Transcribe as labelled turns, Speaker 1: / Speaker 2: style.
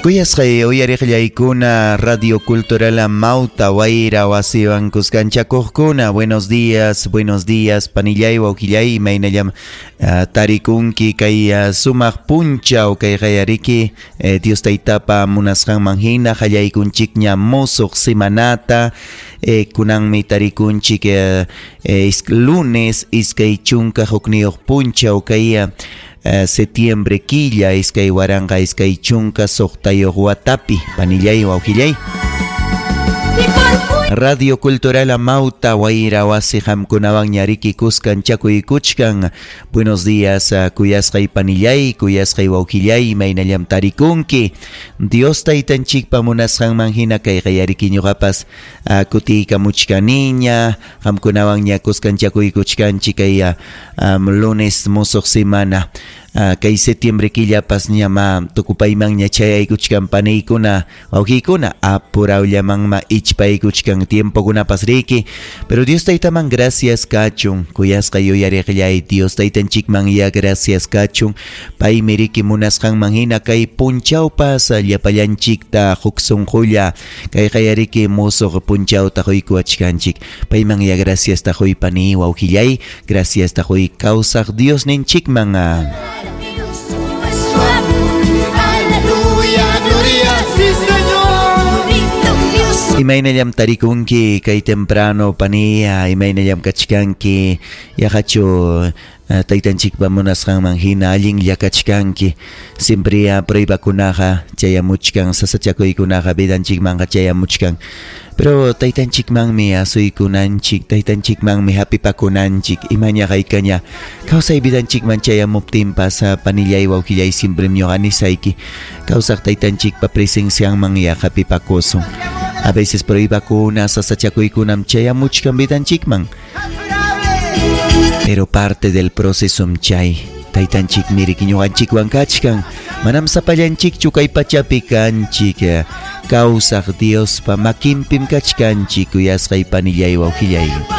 Speaker 1: Kuyasqay uyariqllaykuna Radio Cultural Amauta Wayra wasiwan kuskanchakuqkuna. Buenos días, buenos días, panillay, wawqillay, imaynallam tarikunki kay sumaq punchaw kay qayariki Dios Taytapa munasqanman hina qallaykunchikña musuq semanata. Kunanmi tarikunchik lunes 21 punchaw kay septiembre killa 2026 watapi, panillay, wawqillay. Radio Cultural Amauta Wayra wasi qamkunawan ñariki kuskanchakuykuchkan. Buenos días, kuyasqay panillay, kuyasqay wawqillay, imaynallam tarikunki. Dios Taytanchikpa munasqanman hina kay qayariki ñuqapas kutiykamuchkaniña, qamkunawan ña kuskanchakuykuchkanchik kay lunes musuq semana. Kay septiembre killapas ñama tukupaymanña chayaykuchkan paniykuna, wawqiykuna, apurawllamanma ichpaykuchkan tiempokunapas riki. Pero Dios Taytaman gracias kachun, kuyasqay uyariqllay, Dios Taytanchikman ya gracias kachun. Paymi riki munasqanman hina kay punchawpas llapallanchikta huk sunqulla kay qayariki musuq punchawta quykuwachkanchik. Payman ya gracias ta huy pani wawqillay, gracias ta huy kawsaq Dios ninchikman.
Speaker 2: Aleluya, gloria, sí, Señor.
Speaker 1: Imaynallam tarikunki kay temprano pania, imaynallam kachkanki, yaqachu taytanchikpa munasqanman hina allinlla kachkanki. Siempre pruebakunaqa chayamuchkan, sasachakuykunaqa vidanchikmanqa chayamuchkan. Pero taytanchikmanmi asuykunanchik, taytanchikmanmi hapipakunanchik, imaña haykaña kawsay vidanchikman chayamuptinpas panillay wawqillay siempre ñuqa nisayki kawsaq taytanchikpa presencianman ya hapipakusun. A veces pruebakuna, sasachakuykunam chayamuchkan vidanchikman. Pero parte del proceso chay taytanchik miriki ñuqanchikwan kachkan, manam sapallanchikchu kay pachapi kanchik, kawsaq Diospa makinpim kachkanchik, kuyasqay panillay wawqillay.